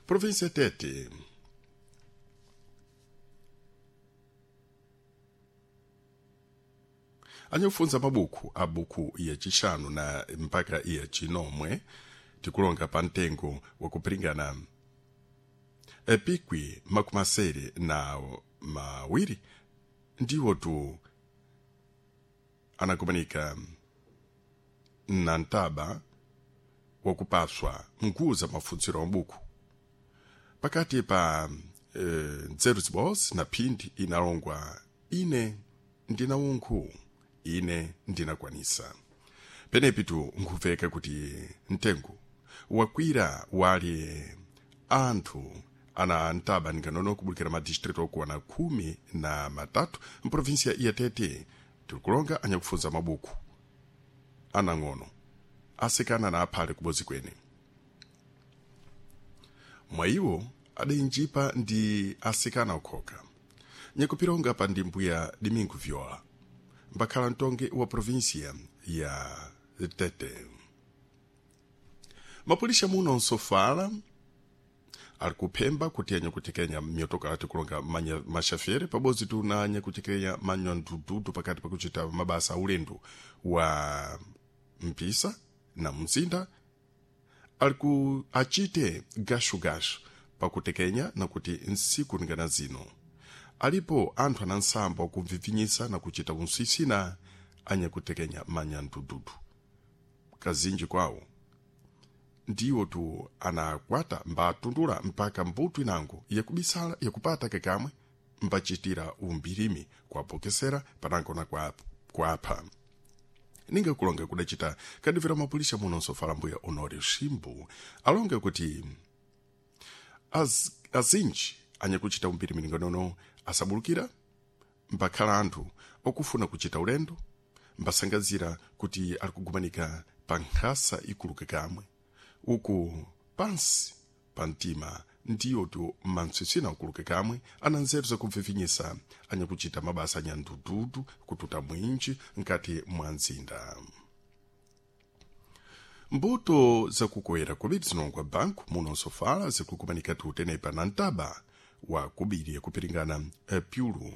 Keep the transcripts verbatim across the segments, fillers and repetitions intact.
Província Tete. Anyakufunza mabuku a buku ya chixanu na mpaka ya chinomwe tikulonga pa mtengo wakupiringana epikwi makumi asere na mawiri ndiwo tu anakumanika na ntaba wakupaswa mkuza mafunziro a mabuku pakati pa e, nzeru zibozi na phindi inalongwa ine ndina unkhu ine ndinakwanisa penepi tu nkhuveka kuti mtengo wakwira wali anthu ana ntaba ninganono kubulukira madistritu okuwana khumi na matatu mprovinsia ya Tete. Tirikulonga anyakufunza mabuku anang'ono asikana na aphale kubozi kwene mwayiwo adinjipa ndi asikana okhoka nyakupironga pa ndimbu ya Domingo Viola mbakhala mtongi wa província ya Tete. Mapulisha muno nsofala ali kuphemba kuti anyakutekenya miotoka ati kulonga manya mashafere pabodzi tuna anyakutekenya manyandududu pakati pakuchita mabasa aulendo wa mpisa na mzinda ali ku achite gashugashu pakutekenya nakuti nsiku ningana zino alipo anthu anansamba wakumvivinyisa na kuchita unsisina anyakutekenya manyandududu kazinji kwawo ndiwo tu anakwata mbatundula mpaka mbuto inango yakubisala yakupata kakamwe mbachitira umbirimi kwapokesera panango na kwa kwapha ninga kulonga kudachita kadivira mapulisha muno nsofala mbuya Honório Shimbu alonga kuti az, azinji anyakuchita umbirimi ninganono asabulukira mbakhala anthu okufuna kuchita ulendo mbasangazira kuti ali kugumanika pa nkhasa ikuluka kamwe uku pansi pa mtima ndiyo tu mantswitswina ukuluke kamwe ana nzeru zakubvivinyisa anyakuchita mabasa anyandududu kututa mwinji nkati mwa mzinda. Mbuto zakukoyera kubiri zinongwa banku muno nsofala zikukumanika tutenepa na ntaba wa kubiri yakupiringana pyulu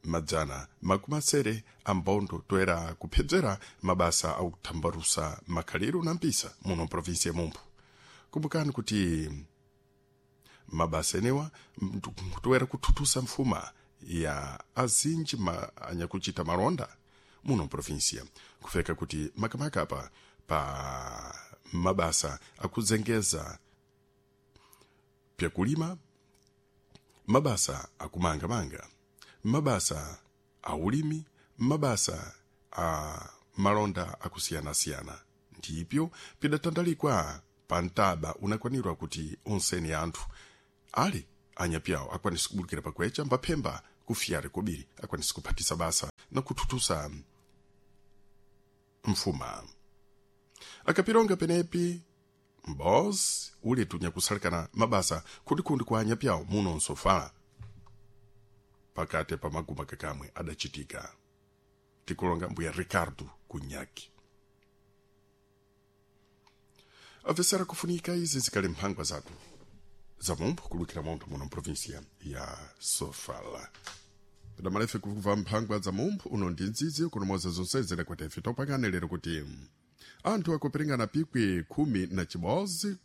madzana makumi asere ambondo toera kuphedzera mabasa akuthambarusa makhaliro na mpisa muno mprovinsi ya Mumphu. Kumbukani kuti mabasa enewa toera kuthuthusa mfuma ya azinji ma, anyakuchita malonda muno mprovinsia kufeka kuti makamaka apa pa mabasa akuzengeza pyakulima, mabasa akumangamanga, mabasa a ulimi, mabasa a malonda akusiyana-siyana ndipyo pidatandalikwa pa ntaba unakwanirwa kuti onseni anthu ali anyapyawo akwanise kubulukira pakwecha mbaphemba kufiyari kobiri akwanise kuphatisa basa na kuthuthusa mfuma. Akapironga penepi mbozi uli tunyakusalikana mabasa kundikundi kwa anyapyawo muno nsofala pakati pa maguma kakamwe adachitika tikulonga mbuya Ricardo Kunyaki. Avesera kufunika izi zikali mphangwa zathu za Mumphu kulukira montho muno mprovinsia ya Sofala. Padamalefe kuva mphangwa za Mumphu uno ndi ndzidzi kunomoza zonse zidakwata ife topangane lero kuti anthu akupiringana pikwi khumi na chibodzi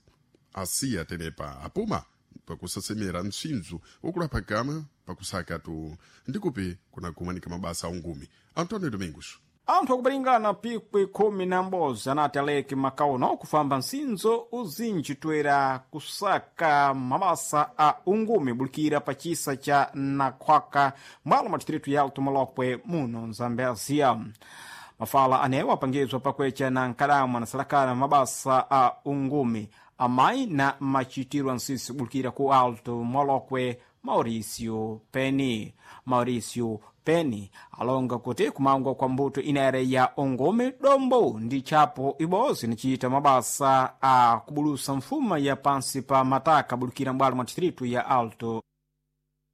asiya tenepa apuma pakusasemera msindzu wokulapha kamwe pakusaka tu ndikupi kunakumanika mabasa aungumi. Antonio Domingos. Anthu akupiringana pikwi khumi na m'bodzi anati aleke makauno kufamba msinzo uzinji toera kusaka mabasa a ungumi bulikira pa chisa cha Nakhwaka mwalo mwa distritu ya Alto Molokwe muno Nzambezia. Mafala anewo apangizwa pakwecha na nkadamu anasalakana mabasa a ungumi amayi na machitiro ansisi kubulikira ku Alto Molokwe Mauricio Penny. Mauricio Penny alonga kuti kumangwa kwa mbuto inere ya ongome dombo ndi chapo ibodzi nichita mabasa a kubulusa mfuma ya pansi pa mataka bulikira mbwalo mwa distritu ya Alto